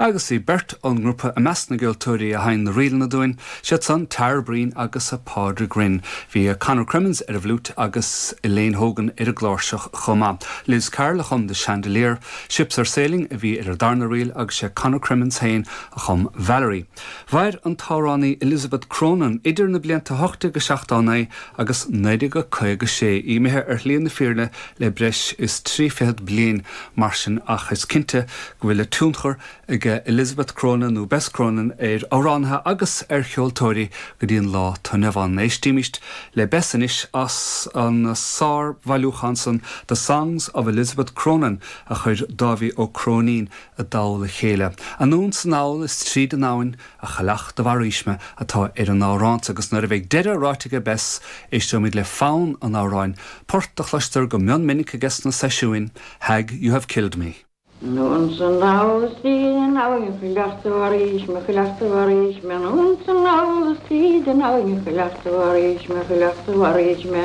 Agus bhí beirt ón ngrúpa i measc na gceoltóirí a sheinn na ríleanna dúinn, siad san Tara Breen agus Pádraig Rynne. Bhí Conor Crimmins ar an bhfliúit agus Elaine Hogan ar an gcláirseach chomh maith. Liz Carroll a chum The Chandelier, Ships Are Sailing a bhí ar an darna ríl agus sé Conor Crimmins féin a chum Valerie. Mhair an t-amhránaí Elizabeth Cronin idir na blianta 1879 agus 1956, í imithe ar shlí na fírinne le breis is 30 bliain mar sin ach is cinnte go bhfuil a tionchar ag Elizabeth Cronin nó Bess Cronin ar amhránaithe agus ar cheoltóirí go dtí an lá atá inniu ann. Éistímist le Bess anois as an sár-bhailiúchán san The Songs of Elizabeth Cronin a chuir Dáibhí Ó Cróinín i dtoll a chéile. Anonn 's anall is tríd an abhainn A chailleach do mharaís mé atá ar an amhrán so agus nuair a bheidh deireadh ráite aige Bess, éisteoimid le fonn an amhráin, port a chloistear go mion minic aige sna seisiúin, Hag You Have Killed Me. Anonn 's anall is tríd an abhainn a chailleach do mharaís me, a chailleach do mharaís me, anonn 's anall is tríd an abhainn a chailleach do mharaís me, a chailleach do mharaís me.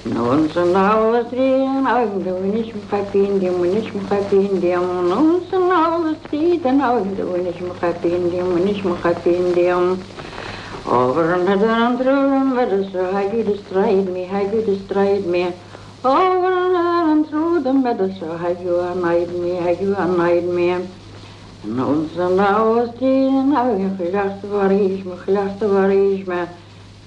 Anonn 's anall is tríd an abhainn do bhainis mo chaipín díom, bhainis mo chaipín díom. Anonn 's anall is tríd an abhainn do bhainis mo chaipín díom, bhainis mo chaipín díom. Over and hither and through the meadows, so have you destroyed me, have you destroyed me. Over and hither and through the meadows, so have you annoyed me, have you annoyed me. Anonn 's anall is tríd an abhainn a chailleach do mharaís me, a chailleach do mharaís me.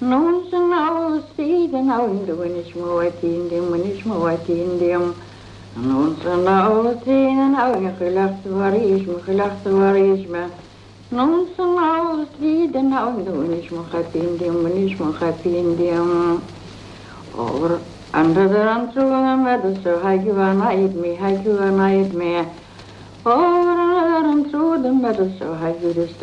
Anonn 's anall is tríd an abhainn do bhainis mo bhaitín díom, bhainis mo bhaitín díom. Anonn 's anall is tríd an abhainn a chailleach do mharaís me, a chailleach do mharaís me. Anonn 's anall is tríd an abhainn do bhainis mo chaipín díom, bhainis mo chaipín díom. Over and hither and through the meadows so have you annoyed me, have you annoyed me. Over and hither and through the meadows so have you